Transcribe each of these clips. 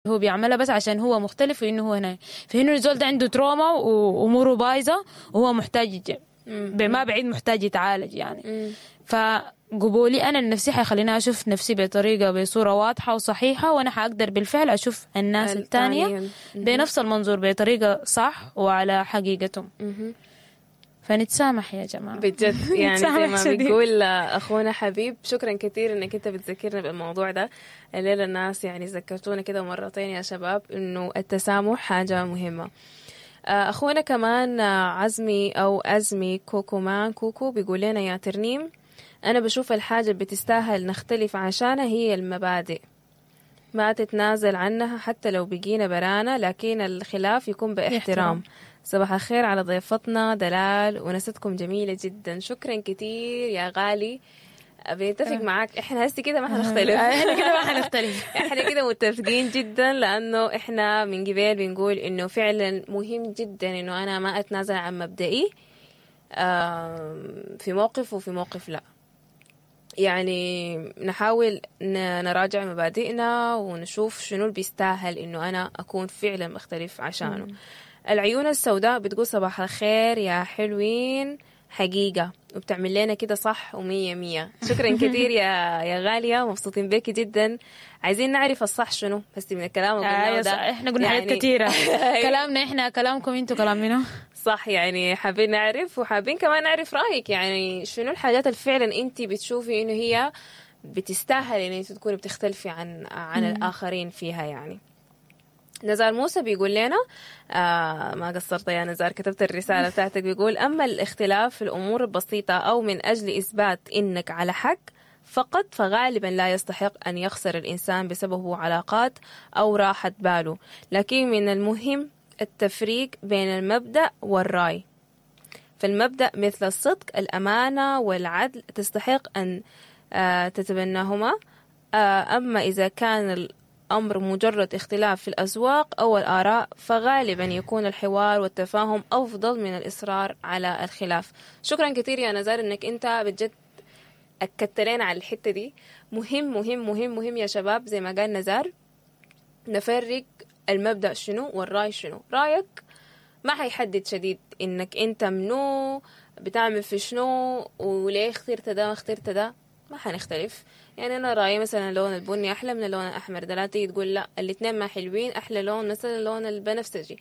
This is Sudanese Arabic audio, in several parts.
هو بيعملها بس عشان هو مختلف وانه هو هنا، فانه الزول ده عنده trauma واموره بايظة وهو محتاج بما بعيد محتاج يتعالج يعني. فقبولي انا لنفسي حيخليني اشوف نفسي بطريقة بصورة واضحة وصحيحه، وانا حاقدر بالفعل اشوف الناس الثانية بنفس المنظور، بطريقة صح وعلى حقيقتهم. فنتسامح يا جماعه. بجد يعني زي نتسامح ما شديد. بيقول اخونا حبيب، شكرا كثير انك انت بتذكرنا بالموضوع ده الليله. الناس يعني ذكرتونا كده مرتين يا شباب انه التسامح حاجة مهمه. اخونا كمان عزمي او ازمي كوكو مان كوكو بيقول لنا: يا ترنيم، انا بشوف الحاجة اللي بتستاهل نختلف عشانها هي المبادئ، ما تتنازل عنها حتى لو بقينا برانا، لكن الخلاف يكون باحترام. باحترام. صباح الخير على ضيفتنا دلال، ونستكم جميلة جدا. شكرا كثير يا غالي، بنتفق معاك. احنا هسه كده ما حنختلف. احنا كده ما حنختلف. احنا كده متفقين جدا، لانه احنا من قبل بنقول انه فعلا مهم جدا انه انا ما اتنازل عن مبدئي في موقف وفي موقف لا. يعني نحاول نراجع مبادئنا ونشوف شنو اللي بيستاهل انه انا اكون فعلا مختلف عشانه. العيون السوداء بتقول: صباح الخير يا حلوين، حقيقة وبتعمل لنا كده صح ومية مية. شكرا كثير يا غالية، مبسوطين بك جدا. عايزين نعرف الصح شنو بس من الكلام اللي قلناه ده. صح. احنا قلنا حاجات كثيره، كلامنا احنا، كلامكم انتوا، كلام منو؟ صح، يعني حابين نعرف وحابين كمان نعرف رأيك، يعني شنو الحاجات اللي فعلا انت بتشوفي انه هي بتستاهل ان انت تكوني بتختلفي عن الآخرين فيها يعني. نزار موسى بيقول لنا، ما قصرت يا نزار، كتبت الرسالة بتاعتك، بيقول: أما الاختلاف في الأمور البسيطة أو من أجل إثبات إنك على حق فقط، فغالبا لا يستحق أن يخسر الإنسان بسببه علاقات أو راحة باله، لكن من المهم التفريق بين المبدأ والرأي، فالمبدأ مثل الصدق، الأمانة والعدل تستحق أن تتبناهما، أما إذا كان الأمر مجرد اختلاف في الأذواق أو الآراء فغالبا يكون الحوار والتفاهم أفضل من الإصرار على الخلاف. شكرا كثير يا نزار إنك أنت بجد أكدت لنا على الحتة دي. مهم مهم مهم مهم يا شباب، زي ما قال نزار، نفرق المبدأ شنو والرأي شنو. رأيك ما حيحدد شديد انك انت منو، بتعمل في شنو، وليه اخترت ده ما اخترت ده. ما حنختلف. يعني انا رايي مثلا اللون البني احلى من اللون الاحمر، ده لا تيجي تقول لا، الاثنين ما حلوين، احلى لون مثلا اللون البنفسجي،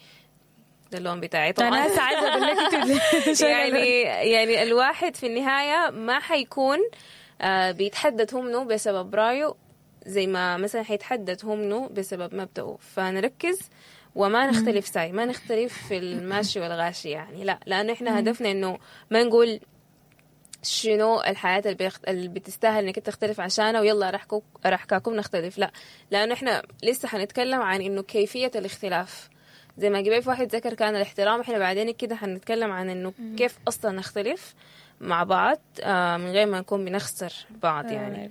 ده اللون بتاعي طبعا. انا هسه عايزه اقول لك انتوا يعني الواحد في النهاية ما حيكون بيتحدد هو منو بسبب رايه، زي ما مثلا حيتحدد هو منو بسبب مبدأه. فنركز وما نختلف ساي، ما نختلف في الماشي والغاشي يعني، لا، لأنه إحنا هدفنا إنه ما نقول شنو الحياة اللي بتستاهل انك تختلف عشانها ويلا رحكاكم نختلف، لا، لانه احنا لسه حنتكلم عن انه كيفية الاختلاف، زي ما قبل في واحد ذكر كان الاحترام، احنا بعدين كده حنتكلم عن انه كيف اصلا نختلف مع بعض من غير ما نكون بنخسر بعض يعني.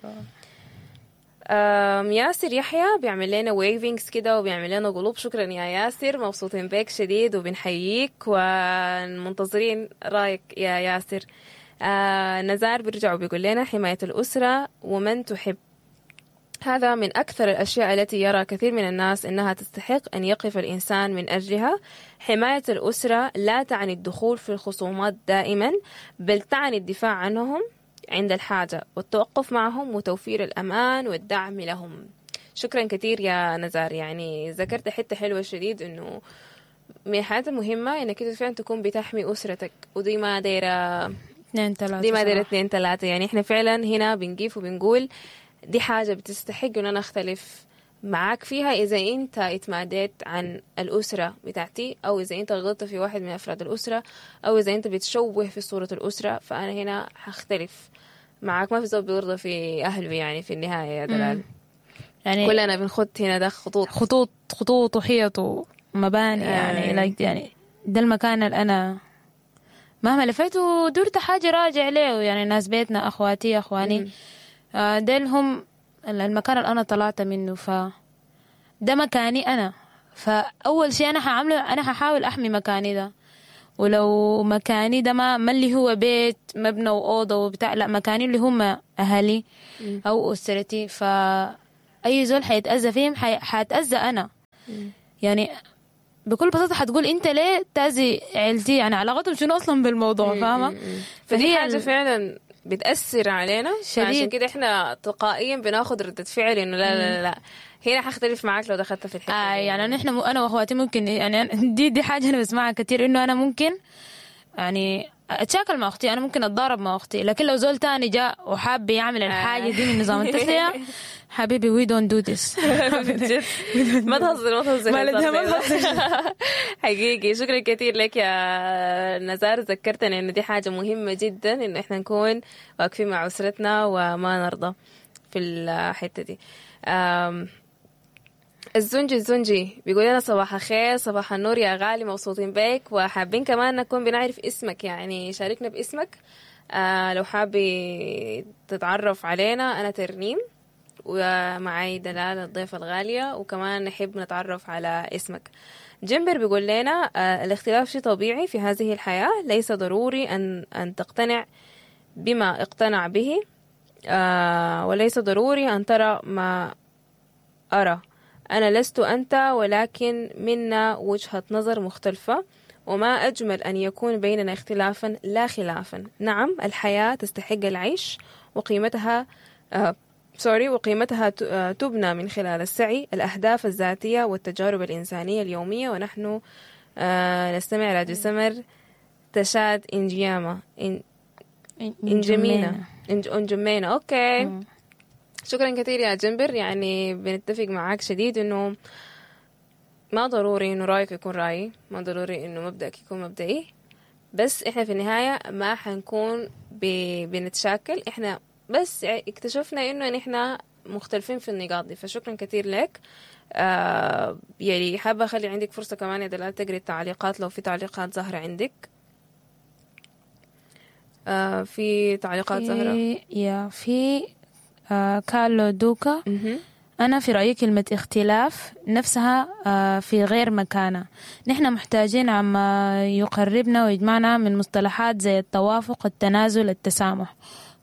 ياسر يحيى بيعمل لنا wavings كده وبيعمل لنا قلوب. شكرا يا ياسر، مبسوطين بك شديد وبنحييك ومنتظرين رايك يا ياسر. نزار بيرجع وبيقول لنا: حماية الأسرة ومن تحب هذا من أكثر الأشياء التي يرى كثير من الناس أنها تستحق أن يقف الإنسان من أجلها. حماية الأسرة لا تعني الدخول في الخصومات دائما، بل تعني الدفاع عنهم عند الحاجة والتوقف معهم وتوفير الأمان والدعم لهم. شكرا كثير يا نزار، يعني ذكرت حتة حلوة شديد، إنه من الحاجات المهمة إنك أنت فعلا تكون بتحمي أسرتك، ودي ما دايرة اثنين ثلاثة. دي ما دايرة صراحة. اثنين ثلاثة. يعني احنا فعلا هنا بنقيف وبنقول دي حاجة بتستحق ان انا اختلف معاك فيها اذا انت اتماديت عن الاسرة بتاعتي، او اذا انت غلطت في واحد من افراد الاسرة، او اذا انت بتشوه في صورة الاسرة، فانا هنا حختلف معاك. ما في زول بيرضى في اهله يعني في النهاية يا دلال. يعني كلنا بنخط هنا ده خطوط. خطوط خطوط وحيط ومباني يعني like يعني ده المكان اللي انا مهما لفيت ودرت حاجة راجع له، يعني ناس بيتنا، اخواتي، اخواني، ديل هم المكان اللي انا طلعت منه، ف ده مكاني انا. فاول شيء انا حعمله انا ححاول احمي مكاني ده، ولو مكاني ده ما اللي هو بيت مبنى واوضه وبتاع، لا، مكاني اللي هم اهلي او اسرتي، فاي زول حيتاذى فيهم حاتاذى انا. يعني بكل بساطة حتقول انت ليه تأذي عيلتي، يعني علاقتهم شنو اصلا بالموضوع، فاهمه؟ فدي فهي حاجة فعلا بتأثر علينا، شديد. عشان كده احنا تلقائيا بناخد ردة فعل انه لا لا لا لا، هنا حختلف معاك لو دخلت في الحتة دي. يعني نحن انا واخواتي ممكن يعني دي حاجة انا بسمعها كتير، انه انا ممكن يعني اتشاكل مع اختي، انا ممكن اتضارب مع اختي، لكن لو زول تاني جاء وحاب يعمل الحاجة دي من نظام التسلية، حبيبي we don't do this. بجد. ما تهزر ما تهزر، ما لا، ما تهزر. حقيقي شكرا كثير لك يا نزار، ذكرتنا انه دي حاجة مهمة جدا، انه احنا نكون واقفين مع اسرتنا وما نرضى في الحتة دي. الزنجي بيقول لنا صباح الخير، صباح النور يا غالي، مبسوطين بك وحابين كمان نكون بنعرف اسمك، يعني شاركنا باسمك. لو حابي تتعرف علينا، أنا ترنيم ومعي دلال الضيفة الغالية، وكمان نحب نتعرف على اسمك. جنبر بيقول لنا الاختلاف شيء طبيعي في هذه الحياة، ليس ضروري أن تقتنع بما اقتنع به، وليس ضروري أن ترى ما أرى. أنا لست أنت، ولكن منا وجهة نظر مختلفة، وما أجمل أن يكون بيننا اختلافا لا خلافا. نعم الحياة تستحق العيش، وقيمتها وقيمتها تبنى من خلال السعي، الأهداف الذاتية والتجارب الإنسانية اليومية. ونحن نستمع راديو سمر تشاد إنجياما إنجمينا إنجمينا. okay، شكرا كثير يا جنبر، يعني بنتفق معاك شديد إنه ما ضروري إنه رأيك يكون رأيي، ما ضروري إنه مبدأك يكون مبدئي، بس إحنا في النهاية ما حنكون بنتشاكل، إحنا بس اكتشفنا إنه نحن مختلفين في النقاط دي. فشكرا كثير لك. يعني حابة أخلي عندك فرصة كمان يا دلال تقري التعليقات لو في تعليقات ظاهرة عندك. في تعليقات ظاهرة؟ يا في كارلو دوكا. أنا في رأيي كلمة اختلاف نفسها في غير مكانة. نحن محتاجين عما يقربنا ويجمعنا من مصطلحات زي التوافق، التنازل، التسامح.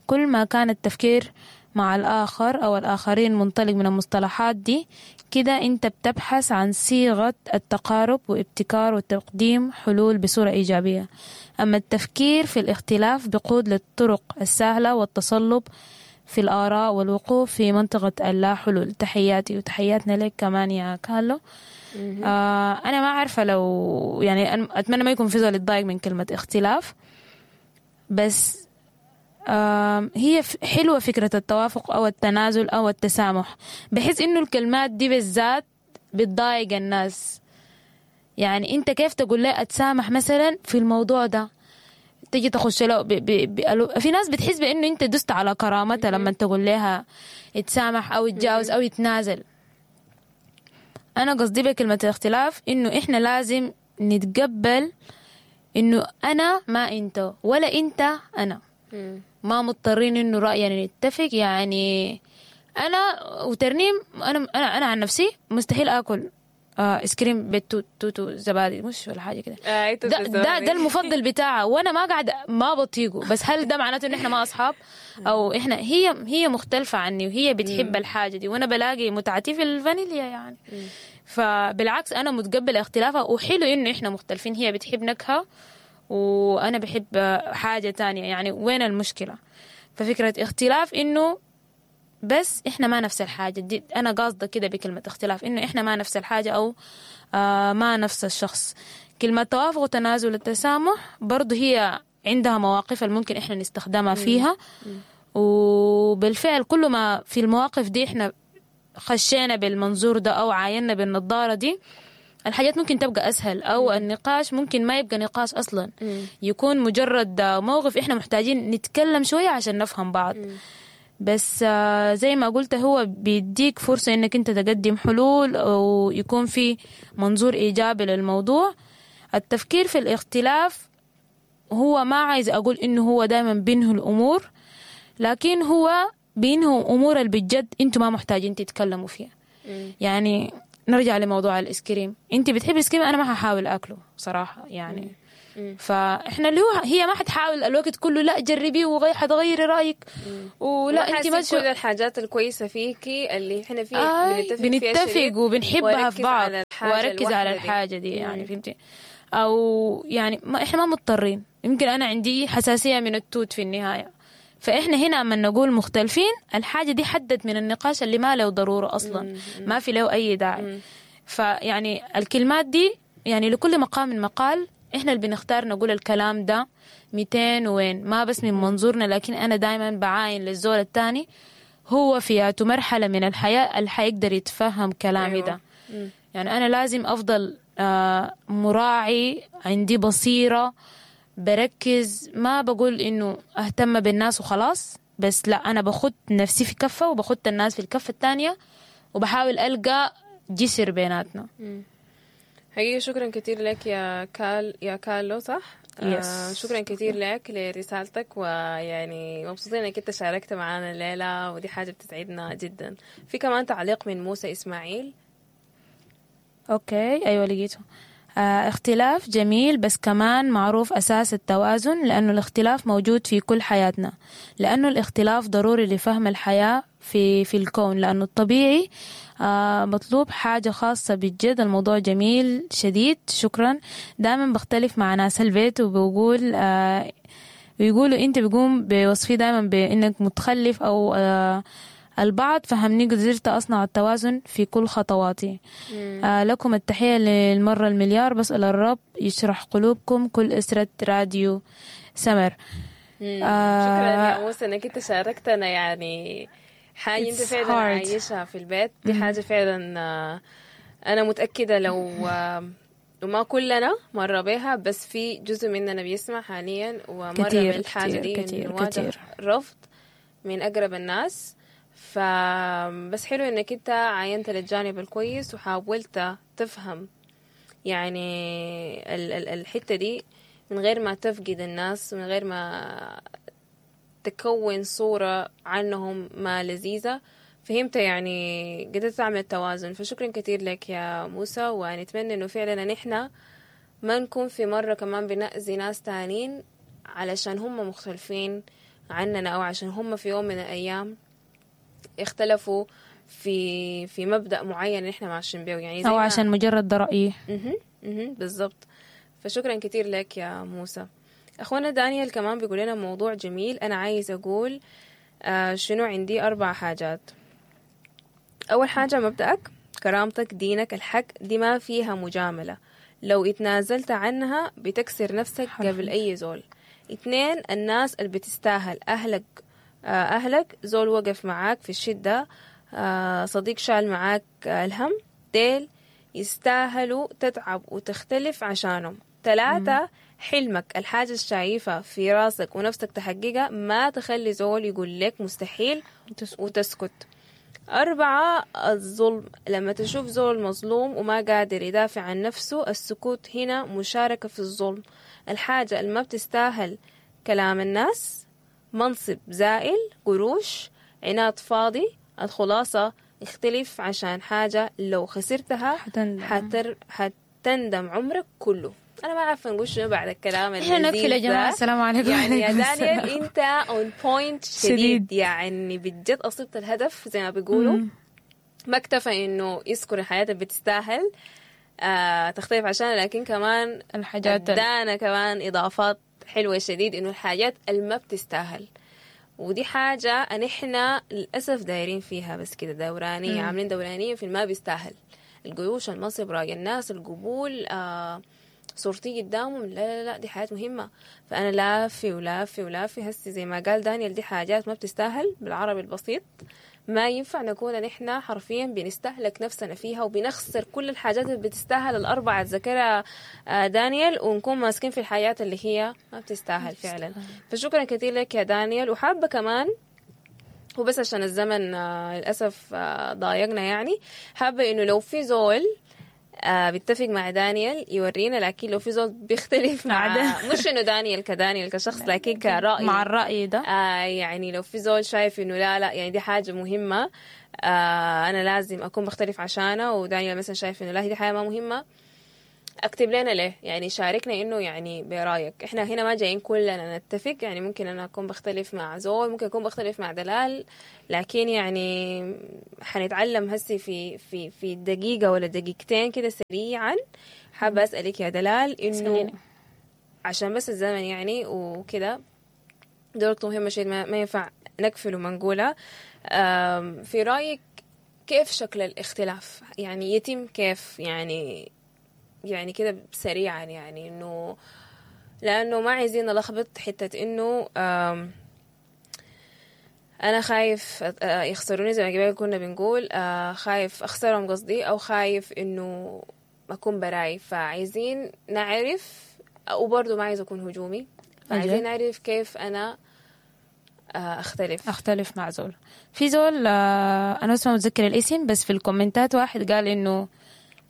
كل ما كان التفكير مع الآخر أو الآخرين منطلق من المصطلحات دي، كده أنت بتبحث عن صيغة التقارب وابتكار وتقديم حلول بصورة إيجابية. أما التفكير في الاختلاف بقود للطرق السهلة والتصلب في الآراء والوقوف في منطقة اللا حلول. تحياتي وتحياتنا لك كمان يا كارلو. أنا ما عارفة لو يعني أتمنى ما يكون في زول يتضايق من كلمة اختلاف، بس هي حلوة فكرة التوافق أو التنازل أو التسامح، بحيث إنه الكلمات دي بالذات بتضايق الناس. يعني أنت كيف تقول لي أتسامح مثلا في الموضوع ده، تيجي تخش له في ناس بتحس بأنه أنت دست على كرامتها لما تقول لها يتسامح أو يتجاوز أو يتنازل. أنا قصدي بكلمة الاختلاف إنه إحنا لازم نتقبل إنه أنا ما أنت ولا أنت أنا، ما مضطرين إنه رأينا نتفق. يعني أنا وترنيم، أنا أنا أنا عن نفسي مستحيل آكل ايس كريم بالتوت توتو زبادي مش ولا حاجة كده. ده المفضل بتاعه، وانا ما قاعد ما بطيقه. بس هل ده معناته ان احنا ما اصحاب او احنا هي مختلفة عني وهي بتحب الحاجة دي وانا بلاقي متعتي في الفانيليا يعني. فبالعكس انا متقبله اختلافها، وحلو انه احنا مختلفين، هي بتحب نكهة وانا بحب حاجة تانية، يعني وين المشكلة؟ ففكره اختلاف انه بس إحنا ما نفس الحاجة دي، أنا قاصدة كده بكلمة اختلاف إنه إحنا ما نفس الحاجة أو ما نفس الشخص. كلمة توافق وتنازل التسامح برضو هي عندها مواقف الممكن إحنا نستخدمها فيها، وبالفعل كل ما في المواقف دي إحنا خشينا بالمنظور ده أو عاينا بالنظارة دي، الحاجات ممكن تبقى أسهل، أو النقاش ممكن ما يبقى نقاش أصلا، يكون مجرد موقف إحنا محتاجين نتكلم شوية عشان نفهم بعض. بس زي ما قلت هو بيديك فرصة انك انت تقدم حلول ويكون في منظور ايجابي للموضوع. التفكير في الاختلاف هو ما عايز اقول انه هو دايما بينهي الامور، لكن هو بينهي امور اللي بجد انتوا ما محتاجين تتكلموا فيها. يعني نرجع لموضوع الايس كريم، انت بتحب الايس كريم، انا ما هحاول اكله صراحة يعني. فاحنا اللي هو هي ما حتحاول الوقت كله لا جربي حتغيري رايك ولا انت ما كل الحاجات الكويسة فيكي اللي احنا فيها بنتفق وبنحبها في بعض، واركز على الحاجة دي يعني فهمتي؟ او يعني ما احنا ما مضطرين. يمكن انا عندي حساسية من التوت في النهاية، فاحنا هنا اما نقول مختلفين الحاجة دي حدت من النقاش اللي ما له ضرورة اصلا، ما في له اي داعي. فيعني الكلمات دي يعني لكل مقام مقال، احنا اللي بنختار نقول الكلام ده 200 وين، ما بس من منظورنا، لكن انا دائما بعاين للزول الثاني هو في مرحلة من الحياة اللي حيقدر يتفهم كلامي ده. يعني انا لازم افضل مراعي، عندي بصيرة، بركز، ما بقول انه اهتم بالناس وخلاص، بس لا انا باخد نفسي في كفه وباخد الناس في الكفة الثانية، وبحاول القى جسر بيناتنا. حقيقي شكرا كثير لك يا كارلو، صح؟ yes. شكرا كثير لك لرسالتك، ويعني مبسوطين انك انت شاركت معنا الليلة، ودي حاجة بتسعدنا جدا. في كمان تعليق من موسى اسماعيل. okay ايوه لقيته. اختلاف جميل، بس كمان معروف أساس التوازن، لأنه الاختلاف موجود في كل حياتنا، لأنه الاختلاف ضروري لفهم الحياة في الكون، لأنه الطبيعي مطلوب حاجة خاصة بالجد. الموضوع جميل شديد، شكرا. دائما بختلف مع ناس البيت وبقول بيقولوا أنت بيقوم بوصفي دائما بأنك متخلف أو البعض فهمني، قدرت أصنع التوازن في كل خطواتي. لكم التحية للمرة المليار، بسأل الرب يشرح قلوبكم، كل أسرة راديو سمر. شكرا يا موسى انك انت شاركتنا، يعني حاجة انت فعلا عايشها في البيت، دي حاجة فعلا أنا متأكدة لو وما كلنا مر بها، بس في جزء مننا بيسمع حاليا ومر بالحاجة دي، كتير رفض من أقرب الناس. فبس حلو انك انت عاينت للجانب الكويس وحاولت تفهم يعني الحتة دي من غير ما تفقد الناس، من غير ما تكون صورة عنهم ما لذيذة. فهمت يعني قدرت تعمل توازن. فشكرا كثير لك يا موسى، ونتمنى انه فعلا نحن ما نكون في مرة كمان بنأذي ناس تانين علشان هم مختلفين عننا، او عشان هم في يوم من الايام اختلفوا في مبدأ معين نحن ماشيين به، يعني زي أو عشان مجرد رأيي. بالضبط. فشكرا كثير لك يا موسى. أخونا دانيال كمان بيقول لنا موضوع جميل. أنا عايز أقول شنو عندي 4 حاجات. أول حاجة مبدأك، كرامتك، دينك، الحق، دي ما فيها مجاملة، لو اتنازلت عنها بتكسر نفسك قبل أي زول. 2 الناس اللي بتستاهل، أهلك، زول وقف معاك في الشدة، صديق شال معاك الهم، ديل يستاهلوا تتعب وتختلف عشانهم. 3 حلمك، الحاجة الشايفة في راسك ونفسك تحققها، ما تخلي زول يقول لك مستحيل وتسكت. 4 الظلم، لما تشوف زول مظلوم وما قادر يدافع عن نفسه، السكوت هنا مشاركة في الظلم. الحاجة اللي ما بتستاهل كلام الناس، منصب زائل، قروش، عناد فاضي. الخلاصة اختلف عشان حاجة لو خسرتها حتندم عمرك كله. أنا ما عارفة نقول شنو بعد الكلام اللذيذ ده. نقفل يا جماعة، السلام عليكم. يعني يا دانيال أنت on point شديد، يعني بجد أصبت الهدف زي ما بيقولوا. ما اكتفى إنه يذكر الحياة اللي بتستاهل تختلف عشان، لكن كمان الحاجات ادانا كمان إضافات حلوة شديد، إنه الحاجات اللي ما بتستاهل، ودي حاجة نحن للأسف دايرين فيها بس كده دورانية، عاملين دورانية في ما بيستاهل، القروش، المنصب، رأي الناس، القبول، صورتي قدامهم، لا لا لا دي حاجات مهمة. فأنا لافي ولافي ولافي هسي زي ما قال دانيال، دي حاجات ما بتستاهل بالعربي البسيط، ما ينفع نكون نحن حرفيا بنستهلك نفسنا فيها وبنخسر كل الحاجات اللي بتستاهل الأربعة ذكرها دانيال، ونكون ماسكين في الحياة اللي هي ما بتستاهل فعلا. فشكرا كثير لك يا دانيال. وحابة كمان، وبس عشان الزمن للأسف ضايقنا، يعني حابة إنه لو في زول بيتفق مع دانيال يورينا، لكن لو في زول بيختلف مع مش إنه دانيال كدانيال كشخص، لكن كرأي مع الرأي ده، يعني لو في زول شايف إنه لا لا يعني دي حاجة مهمة، أنا لازم أكون بختلف عشانه، ودانيال مثلا شايف إنه لا دي حاجة ما مهمة، اكتب لنا ليه، يعني شاركنا انه يعني برايك. احنا هنا ما جايين كلنا نتفق، يعني ممكن انا اكون بختلف مع زول، ممكن اكون بختلف مع دلال، لكن يعني حنتعلم هسي في في في دقيقة ولا دقيقتين كده سريعا. حابة اسألك يا دلال انه سأليني. عشان بس الزمن يعني وكده، دي نقطة مهمة شيء ما ينفع نقفل وما نقولها. في رأيك كيف شكل الاختلاف يعني يتم كيف، يعني كده سريعا، يعني انه لانه ما عايزين نلخبط حتة انه انا خايف يخسروني زي ما قبل كنا بنقول، خايف اخسرهم قصدي، او خايف انه اكون براي. فعايزين نعرف، وبرضه ما عايز اكون هجومي، فعايزين نعرف كيف انا اختلف. اختلف مع زول. في زول انا بس ما متذكر الاسم، بس في الكومنتات واحد قال انه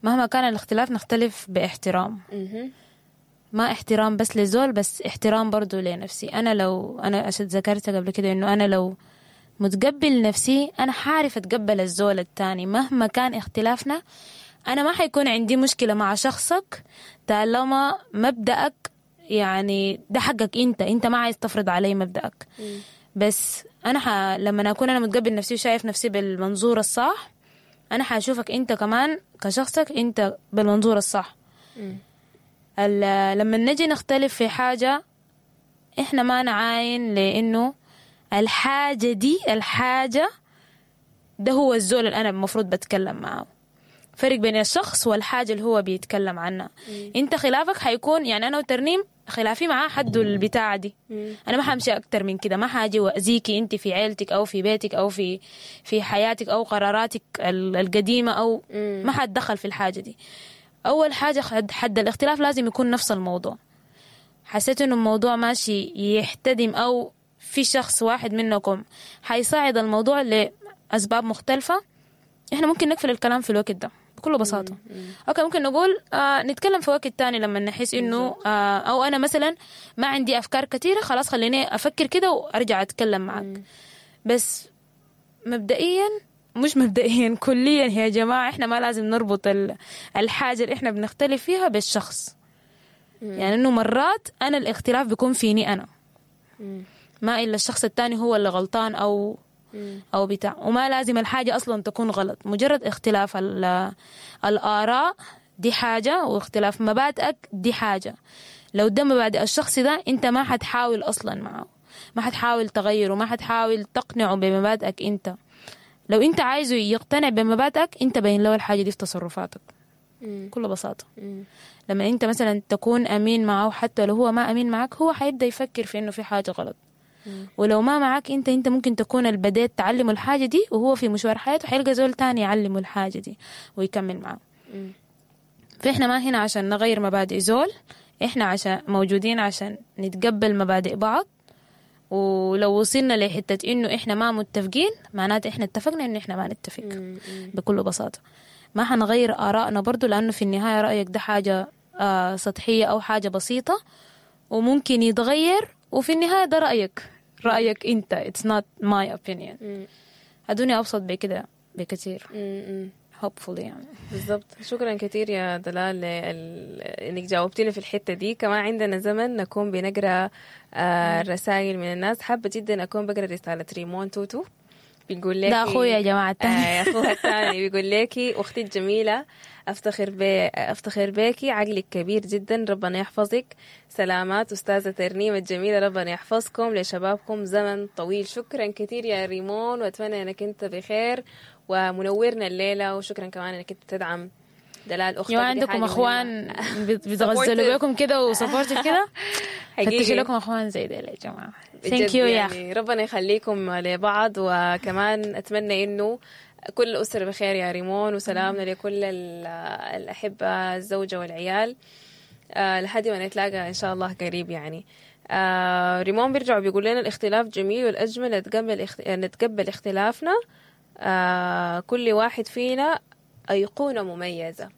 مهما كان الاختلاف نختلف باحترام. ما احترام بس لزول، بس احترام برضو لنفسي. انا لو انا ذكرت قبل كده انه انا لو متقبل نفسي انا حعرف اتقبل الزول التاني مهما كان اختلافنا. انا ما حيكون عندي مشكلة مع شخصك طالما مبدأك يعني ده حقك انت ما عايز تفرض علي مبدأك. بس انا لما اكون انا متقبل نفسي وشايف نفسي بالمنظور الصح، انا حاشوفك انت كمان كشخصك انت بالمنظور الصح. لما نجي نختلف في حاجة احنا ما نعاين لانه الحاجة دي، الحاجة ده هو الزول اللي انا المفروض بتكلم معه. فرق بين الشخص والحاجة اللي هو بيتكلم عنها. انت خلافك حيكون يعني انا وترنيم خلافي معاه حد البتاعة دي. انا ما حمشي اكتر من كده، ما حاجي واذيكي انت في عيلتك او في بيتك او في حياتك او قراراتك القديمة، او ما حتدخل في الحاجة دي. اول حاجة حد الاختلاف لازم يكون نفس الموضوع. حسيت انه الموضوع ماشي يحتدم او في شخص واحد منكم حيصعد الموضوع لاسباب مختلفة، احنا ممكن نقفل الكلام في الوقت ده بكل بساطة. okay، ممكن نقول نتكلم في وقت تاني لما نحس انه او انا مثلا ما عندي افكار كثيرة، خلاص خليني افكر كده وارجع اتكلم معك. بس مبدئيا، مش مبدئيا، كليا يا جماعة احنا ما لازم نربط الحاجة اللي احنا بنختلف فيها بالشخص. يعني انه مرات انا الاختلاف بيكون فيني انا، ما الا الشخص التاني هو اللي غلطان او بتاع، وما لازم الحاجة أصلا تكون غلط. مجرد اختلاف الآراء دي حاجة، واختلاف مبادئك دي حاجة. لو ده مبادئ الشخص ده انت ما حتحاول أصلا معه، ما حتحاول تغيره، ما حتحاول تقنعه بمبادئك انت. لو انت عايزه يقتنع بمبادئك انت بين له الحاجة دي في تصرفاتك بكل بساطة. لما انت مثلا تكون أمين معه حتى لو هو ما أمين معك، هو حيبدأ يفكر في انه في حاجة غلط. ولو ما معك انت ممكن تكون البديت تعلمه الحاجة دي، وهو في مشوار حياته حيلقى زول تاني يعلمه الحاجة دي ويكمل معه. فإحنا ما هنا عشان نغير مبادئ زول، إحنا عشان موجودين عشان نتقبل مبادئ بعض. ولو وصلنا لحتة إنه إحنا ما متفقين، معناته إحنا اتفقنا إنه إحنا ما نتفق بكل بساطة. ما حنغير آرائنا برضو، لأنه في النهاية رأيك ده حاجة سطحية أو حاجة بسيطة وممكن يتغير، وفي النهاية ده رأيك أنت، it's not my opinion. الدنيا أبسط بكده بكثير. hopefully يعني. بالضبط. شكرا كثير يا دلال انك جاوبتينا في الحتة دي. كمان عندنا زمن نكون بنقرا الرسائل من الناس. حابة جدا اكون بقرا رسالة ريمون توتو، بيقول لك ده اخويا يا جماعة الثاني. اخوها الثاني بيقول لك اختي الجميلة، افتخر بيكي، عقلك كبير جدا، ربنا يحفظك. سلامات استاذه ترنيم الجميلة، ربنا يحفظكم لشبابكم زمن طويل. شكرا كثير يا ريمون، واتمنى انك انت بخير ومنورنا الليلة، وشكرا كمان انك انت تدعم دلال اختك. يا عندكم اخوان بيتغزلوا بكم كده و supportive كده، فتشوا لكم اخوان زي ديل يا جماعة. thank you يا اخي، ربنا يخليكم لبعض. وكمان اتمنى انه كل الاسرة بخير يا ريمون، وسلامنا لكل الاحبة، الزوجة والعيال، لحد ما نتلاقى ان شاء الله قريب يعني. ريمون بيرجع بيقول لنا الاختلاف جميل، والاجمل نتقبل اختلافنا، كل واحد فينا أيقونة مميزة.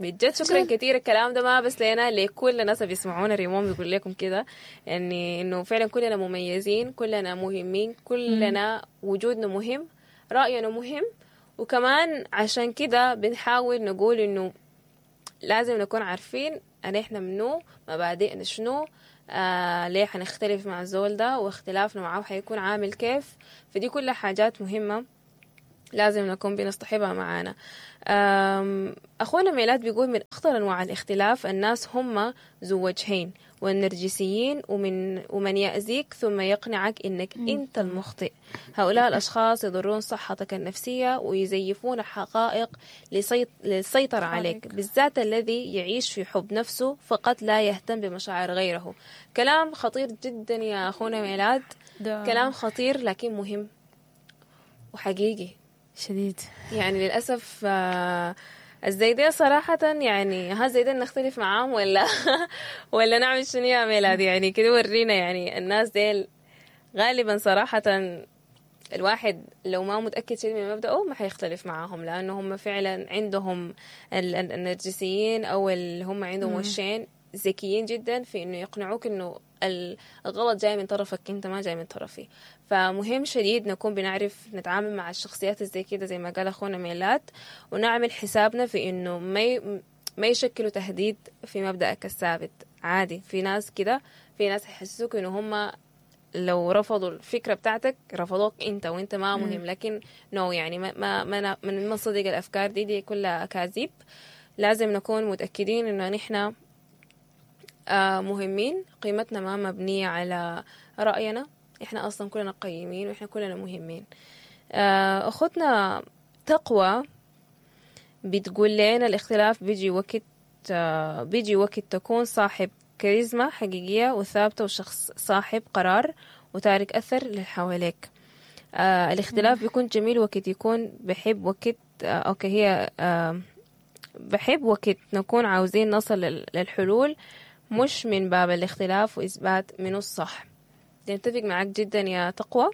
بجد شكرا كثير. الكلام ده ما بس لنا، لكل الناس اللي بيسمعونا. ريمون بيقول لكم كده يعني انه فعلا كلنا مميزين، كلنا مهمين، كلنا وجودنا مهم، رأينا مهم. وكمان عشان كده بنحاول نقول انه لازم نكون عارفين ان احنا منو، مبادئنا شنو، ليه حنختلف مع الزول ده، واختلافنا معاه حيكون عامل كيف. فدي كلها حاجات مهمة لازم نكون بنصطحبها معانا. أخونا ميلاد بيقول من أخطر أنواع الاختلاف الناس هم ذو وجهين والنرجسيين ومن يأذيك ثم يقنعك إنك أنت المخطئ. هؤلاء الأشخاص يضرون صحتك النفسية ويزيفون حقائق للسيطرة عليك، بالذات الذي يعيش في حب نفسه فقط لا يهتم بمشاعر غيره. كلام خطير جدا يا أخونا ميلاد، كلام خطير لكن مهم وحقيقي شديد. يعني للأسف الزيدية صراحة، يعني ها زيدين نختلف معاهم ولا نعمل شنو يا ميلاد؟ يعني كده ورينا، يعني الناس ديل غالبا صراحة الواحد لو ما متأكد شيء من مبدأه ما حيختلف معاهم، لأنه هم فعلا عندهم النرجسيين أو اللي هم عندهم وشين ذكيين جدا في إنه يقنعوك إنه الغلط جاي من طرفك انت، ما جاي من طرفي. فمهم شديد نكون بنعرف نتعامل مع الشخصيات زي كده زي ما قال اخونا ميلاد، ونعمل حسابنا في انه ما يشكلوا تهديد في مبدأك الثابت. عادي في ناس كده، في ناس يحسسوك انه هم لو رفضوا الفكرة بتاعتك رفضوك انت وانت ما مهم، لكن no، يعني ما ما ما نصدق الافكار دي كلها اكاذيب. لازم نكون متأكدين انه نحن مهمين، قيمتنا ما مبنية على رأينا، إحنا أصلا كلنا قيمين وإحنا كلنا مهمين. أختنا تقوى بتقول لنا الاختلاف بيجي وقت تكون صاحب كاريزما حقيقية وثابتة وشخص صاحب قرار وتارك أثر للحواليك. الاختلاف بيكون جميل وقت يكون بحب وقت okay هي بحب وقت نكون عاوزين نصل للحلول، مش من باب الاختلاف وإثبات منه الصح. نتفق معك جدا يا تقوى.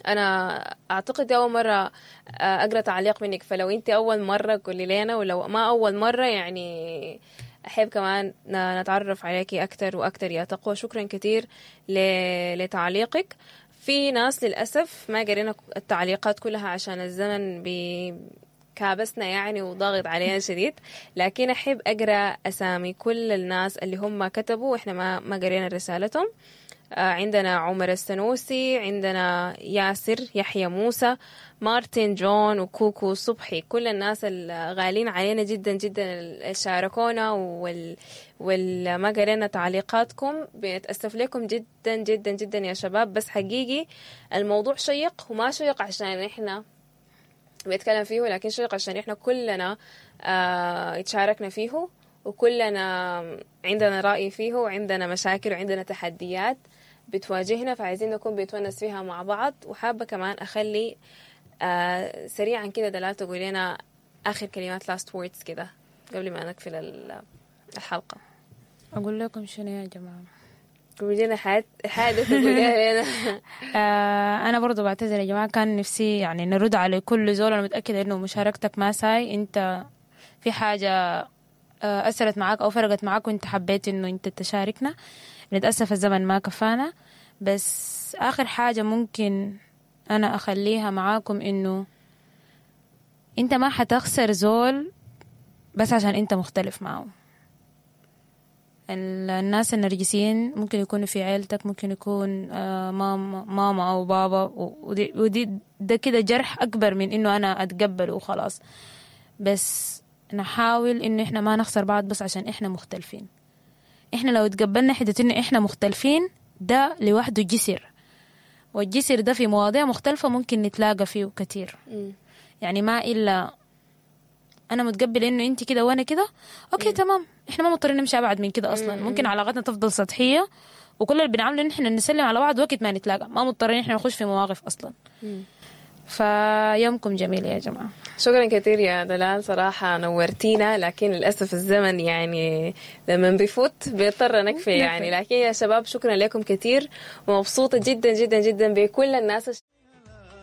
أنا أعتقد أول مرة أقرأ تعليق منك، فلو أنت أول مرة قولي لنا، ولو ما أول مرة يعني أحب كمان نتعرف عليكي أكتر وأكتر يا تقوى. شكرا كثير لتعليقك. في ناس للأسف ما قرينا التعليقات كلها عشان الزمن كابسنا يعني وضاغط علينا شديد، لكن أحب أقرأ أسامي كل الناس اللي هم كتبوا وإحنا ما قرينا رسالتهم. عندنا عمر السنوسي، عندنا ياسر يحيى موسى، مارتن جون، وكوكو صبحي. كل الناس الغالين علينا جدا جدا اللي شاركونا والما قرينا تعليقاتكم، بنتأسف لكم جدا جدا جدا يا شباب. بس حقيقي الموضوع شيق، وما شيق عشان إحنا بنتكلم فيه، لكن شيق عشان إحنا كلنا اتشاركنا فيه، وكلنا عندنا رأي فيه، وعندنا مشاكل وعندنا تحديات بتواجهنا، فعايزين نكون بنتونس فيها مع بعض. وحابة كمان أخلي سريعا كده دلال تقول لنا آخر كلمات last words كده قبل ما نقفل الحلقة. أقول لكم شنو يا جماعة؟ قولي لنا حاجة تقوليها لنا. أنا برضو بعتذر يا جماعة، كان نفسي يعني نرد على كل زول. أنا متأكدة إنه مشاركتك ما ساي، أنت في حاجة أثرت معاك أو فرقت معاك وأنت حبيت إنه أنت تشاركنا. نتأسف الزمن ما كفانا، بس آخر حاجة ممكن أنا أخليها معاكم إنه أنت ما حتخسر زول بس عشان أنت مختلف معه. الناس النرجسيين ممكن يكونوا في عيلتك، ممكن يكون ماما أو بابا، ودي ده كده جرح أكبر من إنه أنا أتقبله وخلاص. بس نحاول إنه إحنا ما نخسر بعض بس عشان إحنا مختلفين. إحنا لو تقبلنا حتة إنه إحنا مختلفين، ده لوحده جسر، والجسر ده في مواضيع مختلفة ممكن نتلاقى فيه كتير. يعني ما إلا أنا متقبل إنه أنت كده وأنا كده، okay تمام، إحنا ما مضطرين نمشي أبعد من كده أصلا. ممكن علاقتنا تفضل سطحية، وكل اللي بنعمله إن إحنا نسلم على بعض وقت ما نتلاقى، ما مضطرين إحنا نخش في مواقف أصلا. فيومكم جميل يا جماعة. شكرا كثير يا دلال، صراحة نورتينا، لكن للأسف الزمن يعني لما بيفوت بيضطر نكفي يعني. لكن يا شباب شكرا لكم كثير، ومبسوطة جدا جدا جدا بكل الناس.